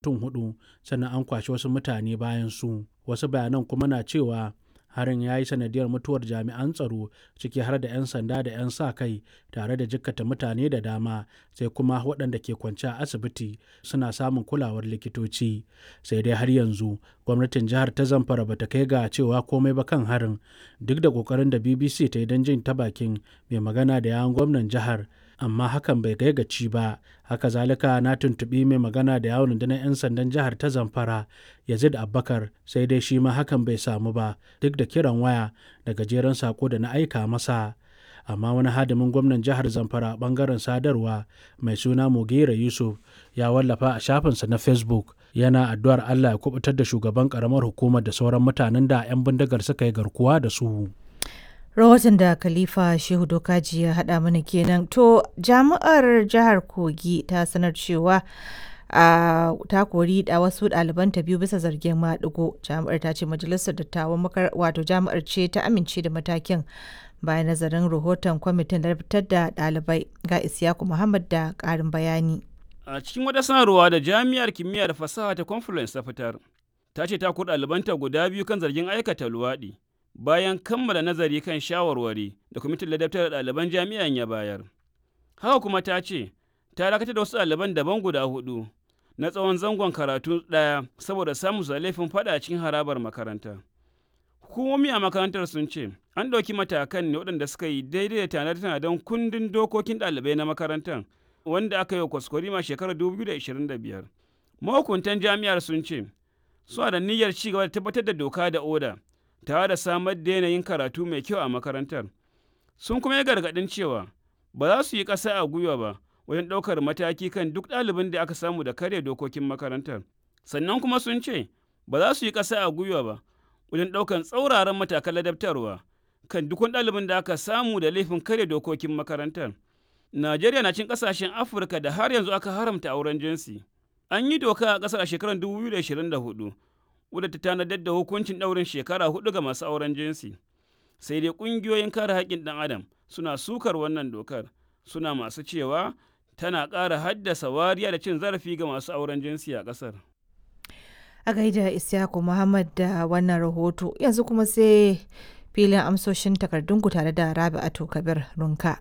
Mutum huɗu sannan an kwashe wasu mutane bayan su. Wasu bayanan kuma na cewa harin ya yi sanadiyyar mutuwar jami'an tsaro, ciki har da 'yan sanda da 'yan sa-kai, tare da jikkata mutane da dama, sai kuma waɗanda ke kwance a asibiti suna samun kulawar likitoci. Sai dai har yanzu gwamnatin jihar ta Zamfara ba ta kai ga cewa komai ba kan harin, duk da ƙoƙarin da BBC ta yi don jin ta bakin mai magana da yawun gwamnan jihar, amma hakan bai kai ga ci ba. Haka zalika na tuntuɓi mai magana da yawun rundunar 'yan sandan jihar ta Zamfara, Yazid Abubakar, sai dai shi ma hakan bai samu ba, duk da kiran waya da gajeren saƙo da na aika masa. Amma wani hadimin gwamnan jihar Zamfara a ɓangaren sadarwa mai suna Mugera Yusuf ya wallafa a shafinsa na Facebook yana addu'ar Allah ya kuɓutar da shugaban ƙaramar hukumar da sauran mutanen da 'yan bindigar suka yi garkuwa da su. Rahoton da Khalifa Shehu Dokaji ya haɗa mana kenan. To, jami'ar jihar Kogi ta sanar cewa a ta kori da wasu ɗalibanta biyu bisa zargin maɗigo. Jami'ar ta ce majalisar dattawan wato jami'ar ce ta amince da matakin bayan nazarin rahoton kwamitin da fitar da ɗalibai. Ga Isiyaku Muhammad da ƙarin bayani. A cikin wata sanarwa da Jami'ar Kimiyya da Fasaha ta Confluence ta fitar, ta ce ta kori ɗalibanta guda biyu kan zargin aikata luwaɗi, bayan kammala nazari kan shawarwari da kwamitin ladabtar da ɗaliban jami'an ya bayar. Haka kuma ta ce, ta dakatar da wasu ɗaliban daban guda hudu na tsawon zangon karatu ɗaya saboda samun su da laifin faɗa cikin harabar makaranta. Hukumomi a makarantar sun ce, an ɗauki matakan ne waɗanda suka yi daidai da tanade-tanaden kundin dokokin ɗalibai na makarantar wanda aka yi wa kwaskwarima shekarar 2025. Mahukuntan jami'ar sun ce, suna da niyyar ci gaba da tabbatar da doka da oda tare da samar da yanayin karatu mai kyau a makarantar. Sun kuma yi gargaɗin cewa ba za su yi ƙasa a gwiwa ba wajen ɗaukar mataki kan duk ɗalibin da aka samu da karya dokokin makarantar. Sannan kuma sun ce ba za su yi ƙasa a gwiwa ba wajen ɗaukar tsauraran matakan ladabtarwa kan duk wani ɗalibin da aka samu da laifin karya dokokin makarantar. Najeriya na cin ƙasashen Afirka da har yanzu aka haramta auren jinsi. An yi doka a ƙasar a shekarar 2024 wadda ta tanadar da hukuncin ɗaurin shekara hudu ga masu auren jinsi. Sai dai ƙungiyoyin kare haƙƙin ɗan adam suna sukar wannan dokar, suna masu cewa tana ƙara haddasa wariya da cin zarafi ga masu auren jinsi a ƙasar. A gaida Isyaku Muhammad da wannan rahoto, yanzu kuma sai filin amsoshin takardunku tare da Rabi'atu Kabir Runka.